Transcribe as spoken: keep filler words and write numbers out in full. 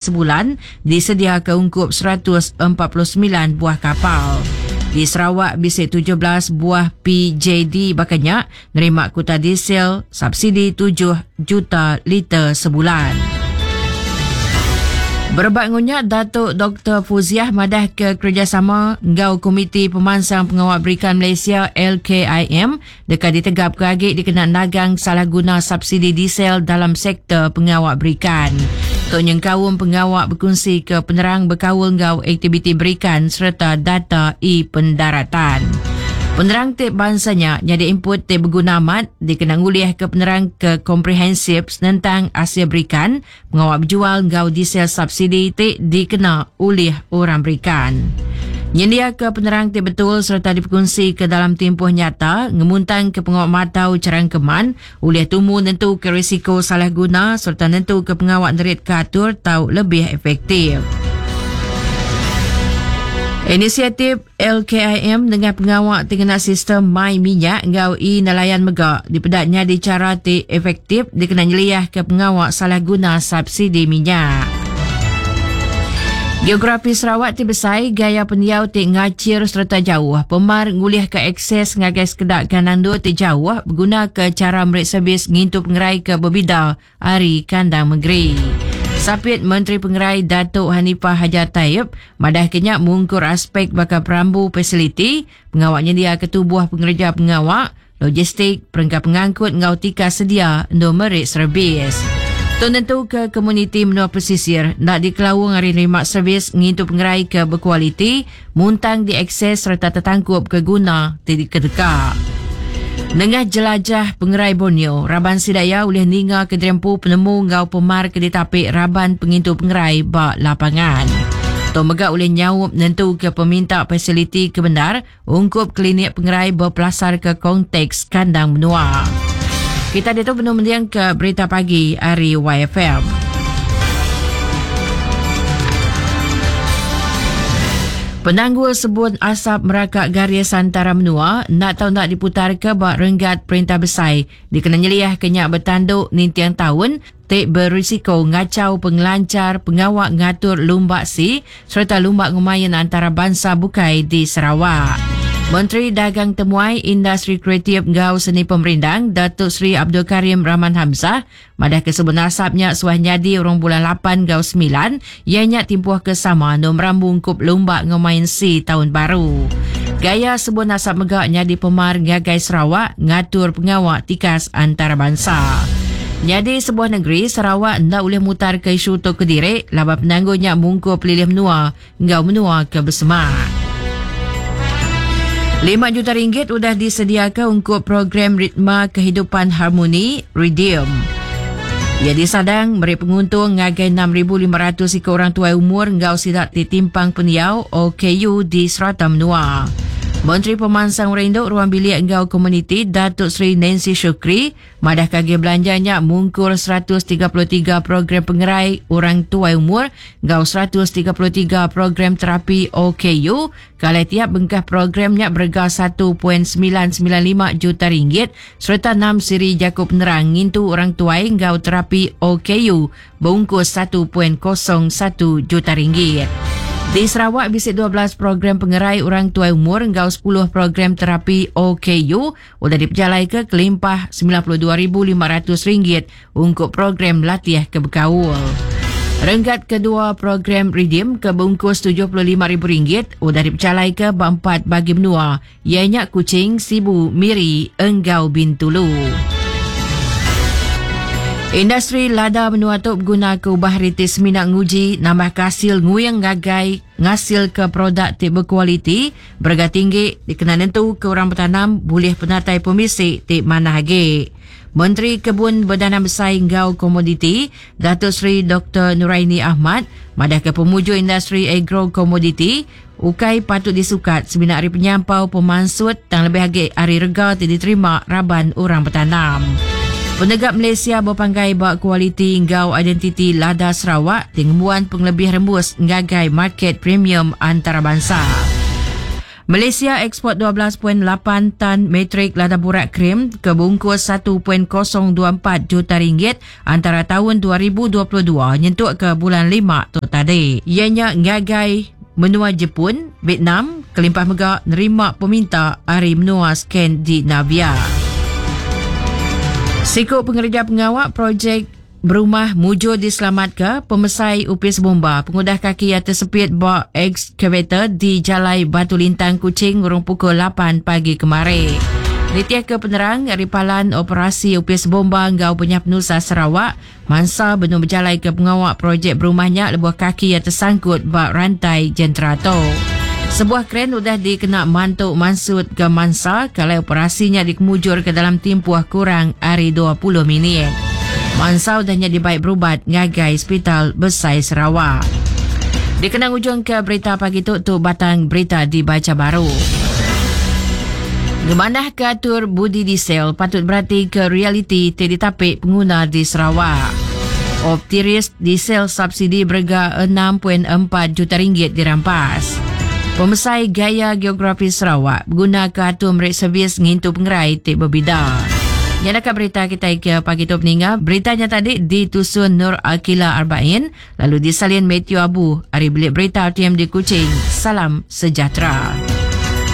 Sebulan disediakan ungkup seratus empat puluh sembilan buah kapal. Di Sarawak bisi tujuh belas buah P J D bakanya nerima kuota diesel subsidi tujuh juta liter sebulan. Berebak ngunya Datuk Doktor Fuziah madah ke kerjasama ngau Komiti Pemansang Pengawal Berikan Malaysia L K I M dekat ditegap ke agi dikena nagang salah guna subsidi diesel dalam sektor pengawal berikan. Tok nyengkaum pengawal berkongsi ke penerang berkaul ngau aktiviti berikan serta data e-pendaratan. Penerang tip bangsanya jadi input tip berguna amat dikena nguliah ke penerang ke komprehensif tentang hasil berikan pengawal berjual ngau diesel subsidi tip dikena oleh orang berikan. Nyendia ke penerang tip betul serta diperkongsi ke dalam tempoh nyata ngemuntang ke pengawal matau cerangkeman oleh tumu nentu ke risiko salah guna serta nentu ke pengawal nerit ke atur tau lebih efektif. Inisiatif L K I M dengan pengawal tengena sistem My Minyak ngau e-nelayan megak dipedaknya di cara ti efektif dikena nyeliah ke pengawal salah guna subsidi minyak. Geografi Sarawak ti besai, gaya pendiau ti ngacir serta jauh. Pemar ngulih ke akses ngagai sekedak kanando ti jauh berguna ke cara merik servis ngintu pengerai ke berbida hari kandang negeri. Sapit Menteri Pengerai Datuk Hanifah Hajar Taib madah kenyak mungkur aspek bakal perambu fasiliti, pengawaknya dia ketubuh pengerja pengawak, logistik, perengkap pengangkut ngau tika sedia untuk merik servis. Tuan tentu ke komuniti menua pesisir nak dikelawang hari nerima servis ngintu pengerai ke berkualiti, muntang diakses serta tertangkup ke guna tidak kedekak. Nengah jelajah pengerai Borneo, Raban Sidaya oleh ninga ke derempu penemu ngau pemar ke ditapik Raban Pengintu Pengerai bak lapangan. Tok megak oleh nyaup nentu ke peminta fasiliti kebenar ungkup klinik pengerai berpelasar ke konteks kandang menua. Kita ditu penuh mendiang ke berita pagi hari Y F M. Penanggul sebut asap merakak garis antara menua nak tahu nak diputar ke bak renggat perintah besar dikena nyeliah kenyak bertanduk nintiang tahun tek berisiko ngacau pengelancar pengawak ngatur lumbak si serta lumbak ngumayan antara bangsa bukai di Sarawak. Menteri Dagang Temuai Industri Kreatif Ngau Seni Pemerindang Datuk Seri Abdul Karim Rahman Hamzah madah kesebun asapnya suah nyadi orang bulan lapan gau sembilan ianya timpuh kesama nom rambung kup lumbak ngemain si tahun baru. Gaya sebun asap megak nyadi pemar ngagai Sarawak ngatur pengawak tikas antarabangsa. Nyadi sebuah negeri Sarawak ndak boleh mutar ke isu tok kediri laba penangguhnya mungkur pelilih menua ngau menua ke bersemak. Lima juta ringgit sudah disediakan untuk program Ritma Kehidupan Harmoni Redeem. Ia disadang beri penguntung ngagai enam ribu lima ratus ikut orang tua umur ngau sidak ditimpang peniau O K U di serata menua. Menteri Pemansang Renduk Ruang Bilik Ngau Komuniti Datuk Seri Nancy Shukri madah kage belanjanya mungkur seratus tiga puluh tiga program pengerai orang tua umur ngau seratus tiga puluh tiga program terapi O K U kalau tiap bengkah programnya berga satu perpuluhan sembilan sembilan lima juta ringgit serta enam siri jaku penerang ngintu orang tua ngau terapi O K U bungkus satu perpuluhan kosong satu juta ringgit. Di Sarawak, bisik dua belas program pengerai orang tua umur ngau sepuluh program terapi O K U sudah diperjalai ke kelimpah sembilan puluh dua ribu lima ratus ringgit untuk program latih kebekaul. Renggat kedua program Redeem ke bungkus tujuh puluh lima ribu ringgit sudah diperjalai ke empat bagi menua ianya Kuching, Sibu, Miri, Enggau Bintulu. Industri lada menua tok guna ke ubah ritis minat nguji nambah kasil nguyang gagai ngasil ke produk ti berkualiti berharga tinggi dikena nentu ke orang bertanam boleh penatai pemisik ti mana agi. Menteri Kebun Berdana Besar Ngau Komoditi Datuk Seri Doktor Nuraini Ahmad madah ke pemuju industri agro komoditi ukai patut disukat sebinak hari penyampau pemansut tang lebih agi hari rega ti diterima raban orang bertanam. Penegak Malaysia berpanggai bak kualiti ngau identiti lada Sarawak tingguan pengelebih rembus ngagai market premium antarabangsa. Malaysia ekspor dua belas perpuluhan lapan tan metrik lada burak krim ke bungkus satu perpuluhan kosong dua empat juta ringgit antara tahun dua ribu dua puluh dua nyentuk ke bulan lima tu tadi. Ianya ngagai menua Jepun, Vietnam, kelimpah mega nerima peminta ari menua Skandinavia. Siku pengerja pengawak projek berumah mujur diselamatkan pemesai Upis Bomba pengudah kaki yang tersepit ba excavator di Jalai Batu Lintang Kuching urung pukul lapan pagi kemarin. Nitiah ke penerang dari Palan Operasi Upis Bomba Ngau Penyah Penusa Sarawak, mangsa benung berjalai ke pengawak projek berumahnya lebuh kaki yang tersangkut ba rantai jentera tu. Sebuah kren sudah dikena mantuk mansut ke mangsa kalau operasinya dikemujur ke dalam tempoh kurang hari dua puluh minit. Mangsa udahnya dibaik berubat ngagai Hospital Besai Sarawak. Dikenang ujung ke berita pagi tu, tu batang berita dibaca baru. Gemanah ke atur budi diesel patut berarti ke realiti ti ditapik pengguna di Sarawak. Optiris diesel subsidi berga enam perpuluhan empat juta ringgit dirampas. Pemesai gaya geografi Sarawak guna ke atur merik servis ngintu pengerai ti berbida. Nyalakan berita kita ke pagi tu peninga. Beritanya tadi ditusun Nur Akila Arbain, lalu disalin Matthew Abu. Hari bilik berita R T M di Kuching. Salam sejahtera.